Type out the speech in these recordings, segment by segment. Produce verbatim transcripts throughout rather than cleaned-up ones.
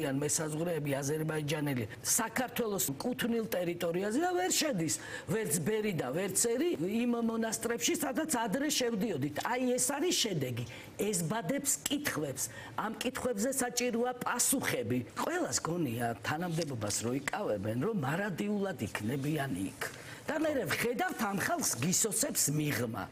არიან მესაზღვრეები აზერბაიჯანელი საქართველოს კუთვნილ ტერიტორიაზე და ვერ შედის ვერც ბერი და ვერც ერი იმ მონასტრებში, სადაც ადრე შევდიოდით. აი ეს არის შედეგი. ეზბადებს კითხვებს. ამ კითხვებზე საჭიროა პასუხები. ყველას გონია თანამდებობას რო იკავებენ, რომ მარადიულად იქნებიან იქ. და მე ვხედავთ ამ ხალხს გისოსებს მიღმა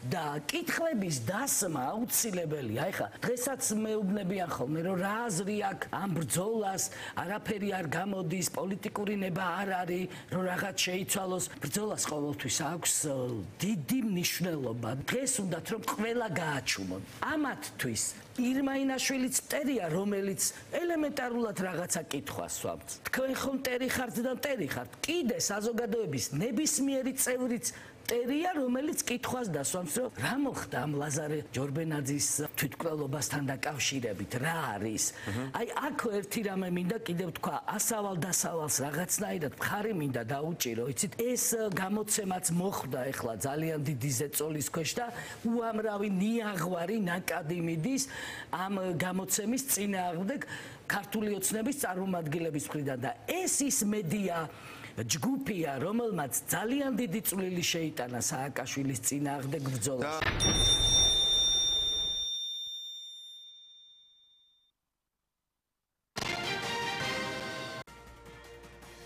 და კითხვების დასმა აუცილებელია. ეხლა დღესაც მეუბნებიან ხოლმე რომ რა აზრი აქვს ამ ბრძოლას, არაფერი არ გამოდის, პოლიტიკური ნება არ არის, რომ რაღაც შეიცვალოს. ბრძოლას ყოველთვის აქვს დიდი მნიშვნელობა. დღეს უნდათ რომ ყველა გააჩუმონ. ამათთვის ირმა ინაშვილიც მტერია, რომელიც ელემენტარულად რაღაცა კითხვას სვამს. თქვენ ხომ მტერი ხართ და მტერი ხართ. კიდე საზოგადოების ნებისმიერი წევრიც მტერია, რომელიც კითხვას დასვამს, რომ რა მოხდა ამ ლაზარე ჯორბენაძის თვითმკვლელობასთან დაკავშირებით, რა არის. აი აქ ერთი რამე მინდა კიდევ თქვა, ასავალ დასავალს რაღაცნაირად მხარი მინდა დაუჭირო. იცით, ეს გამოცემაც მოხდა ეხლა ძალიან დიდი ზეწოლის ქვეშ და უამრავი ნიაღვარი ნაკადი მიდის ამ გამოცემის წინააღმდეგ ქართული ოცნების წარმომადგენლების მხრიდან და ეს ის მედია ჯგუფია, რომელმაც ძალიან დიდი წვლილი შეიტანა სააკაშვილის წინააღმდეგ ბრძოლაში.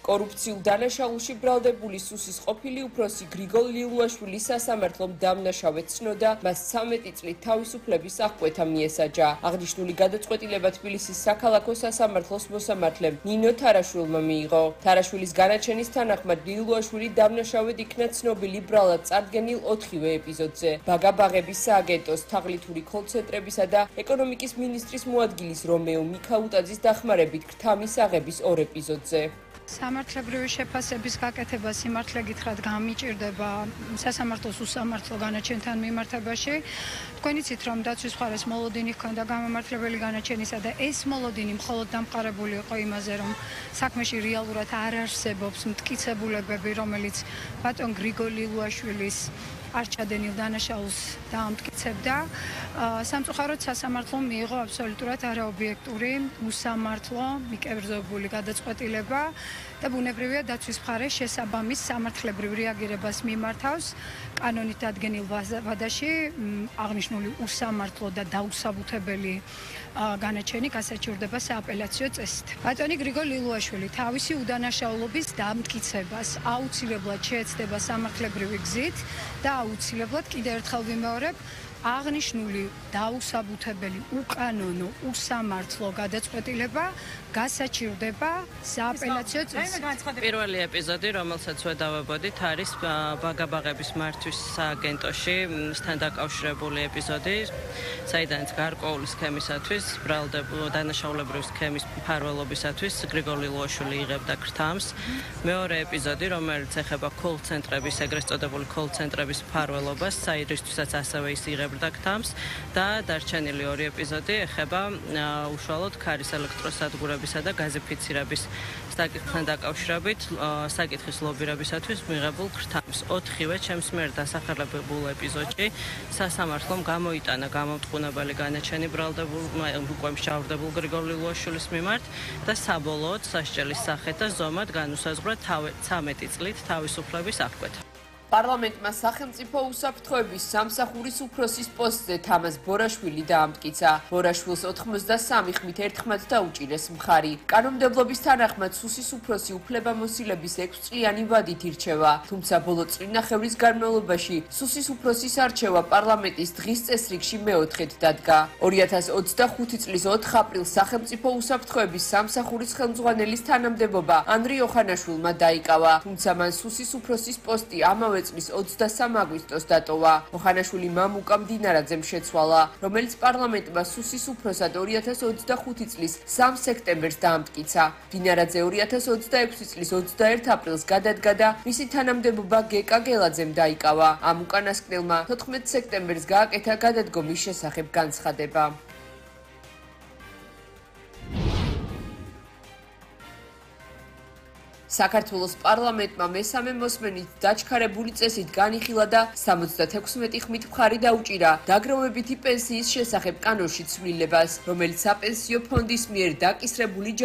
კორუფციულ დანაშაულში ბრალდებული სუსის ყოფილი უფროსი გრიგოლ ლიულაშვილი სასამართლომ დამნაშავედ ცნოდა, მას ცამეტი წლით თავისუფლების აღკვეთა მიესაჯა. აღნიშნული გადაწყვეტილება თბილისის საქალაქო სასამართლოს მოსამართლემ ნინო თარაშვილმა მიიღო. თარაშვილის განაჩენის თანახმად ლიულაშვილი დამნაშავედ იქნა ცნობილი ბრალად წარდგენილ ოთხივე ეპიზოდზე. ბაგაბაღების სააგენტოს, თაღლითური კოლცენტრებისა და ეკონომიკის მინისტრის მოადგილის რომეო მიქაუტაძის დახმარებით ქრთამის აღების ორ ეპიზოდზე. სამართლებრივი შეფასების გაკეთება სიმართლე გითხრათ გამიჭირდება სასამართლოს უსამართლო განაჩენთან მიმართებაში. თქვენ იცით, რომ დაცვის მხარეს მოლოდინი ჰქონდა გამამართლებელი განაჩენისა და ეს მოლოდინი მხოლოდ დამყარებული იყო იმაზე, რომ საქმეში რეალურად არ არსებობს მტკიცებულებები, რომელიც ბატონ გრიგოლ ლიულაშვილის არჩადენილ დანაშაულს დაამტკიცებდა. სამწუხაროდ სასამართლომ მიიღო აბსოლუტურად არაობიექტური, უსამართლო, მიკერძებული გადაწყვეტილება და ბუნებრივია დაცვის მხარე შესაბამის სამართლებრივ რეაგირებას მიმართავს. კანონით დადგენილ ვადაში აღნიშნული უსამართლო და დაუსაბუთებელი განაჩენი გასაჩივრდება სააპელაციო წესით. ბატონი გრიგოლ ლიულაშვილი თავისი უდანაშაულობის დამტკიცებას აუცილებლად შეეცდება სამართლებრივი გზით და აუცილებლად კიდევ ერთხელ ვიმეორებ, აღნიშნული დაუსაბუთებელი, უკანონო, უსამართლო გადაწყვეტილება გასაჩივრდება სააპელაციო წესით. პირველი ეპიზოდი, რომელსაც ვედავებოდით, არის ბაგაბაღების მართვის სააგენტოში სთან დაკავშირებული ეპიზოდი, საიდანაც გარკვეული სქემისათვის, ბრალდებულ დანაშაულებრივი სქემის მფარველობისათვის გრიგოლ ლიულაშვილი იღებდა ქრთამს. მეორე ეპიზოდი, რომელიც ეხება კოლცენტრების, ეგრეთ წოდებული კოლცენტრების მფარველობას, საიდრისთვისაც ასევე ის იღებდა ქრთამს და დარჩენილი ორი ეპიზოდი ეხება უშუალოდ ქარის ელექტროსადგურებისა და გაზიფიცირების საკითხთან დაკავშირებით საკითხის ლობირებისათვის მიღებულ ქრთამს. ოთხივე ჩემს მიერ დასახელებულ ეპიზოდში სასამართლომ გამოიტანა გამომტყუნებელი განაჩენი ბრალდებულ უკვე მსჯავრდებულ გრიგოლ ლიულაშვილის მიმართ და საბოლოოდ სასჯელის სახით და ზომად განუსაზღვრა ცამეტი წლით თავისუფლების აღკვეთა. პარლამენტმა სახელმწიფო უსაფრთხოების სამსახურის უფროსის პოსტზე თამაზ ბორაშვილი დაამტკიცა. ბორაშვილს ოთხმოცდასამი ხმით ერთხმად დაუჭირეს მხარი. კანონმდებლობის თანახმად სუსის უფროსი უფლებამოსილების ექვსწლიანი ვადით ირჩევა, თუმცა ბოლო წლინახევრის განმავლობაში სუსის უფროსის არჩევა პარლამენტის დღის წესრიგში მეოთხედ დადგა. ორი ათას ოცდახუთი წლის ოთხ აპრილს სახელმწიფო უსაფრთხოების სამსახურის ხელმძღვანელის თანამდებობა ანდრი ოხანაშვილმა დაიკავა, თუმცა მან სუსის უფროსის პოსტი ამავე წლის ოცდასამ აგვისტოს დატოვა. ოხანაშვილი მამუკა მდინარაძემ შეცვალა, რომელიც პარლამენტმა სუსის უფროსად ორი ათას ოცდახუთი წლის სამ სექტემბერს დაამტკიცა. მდინარაძე ორი ათას ოცდაექვსი წლის ოცდაერთ აპრილს გადადგა და მისი თანამდებობა გეკა გელაძემ დაიკავა. ამ უკანასკნელმა თოთხმეტ სექტემბერს გააკეთა გადადგომის შესახებ განცხადება. საქართველოს პარლამენტმა მესამე მოსმენით დაჩქარებული წესით განიხილა და სამოცდათექვსმეტი ხმით მხარი დაუჭირა დაგროვებითი პენსიის შესახებ კანონში ცვლილებას, რომელიც საპენსიო ფონდის მიერ დაკისრებული